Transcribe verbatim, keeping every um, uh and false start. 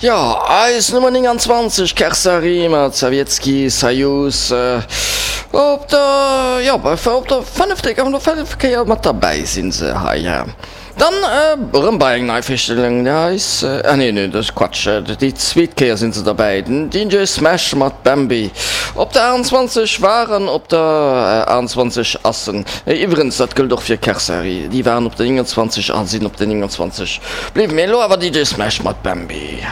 Jo, eis Nummer nénganzwanzeg, Kersari mat Sawjetski Sajus op der, jo, op der fënnefte, op der fënnefte Kéier mat derbäi sinn se hei. Dann erëm bei eng nei Virstellung, eis, ah nee, nee, dat ass Quatsch, déi zweet Kéier sinn se derbäi, den D J Smash mat Bambi op der aachtanzwanzeg waren, op der aachtanzwanzeg ass en, iwwerens dat gëllt och fir Kersari, déi waren op der nénganzwanzeg a sinn op der nénganzwanzeg bliwwen. Mee elo awer D J Smash mat Bambi.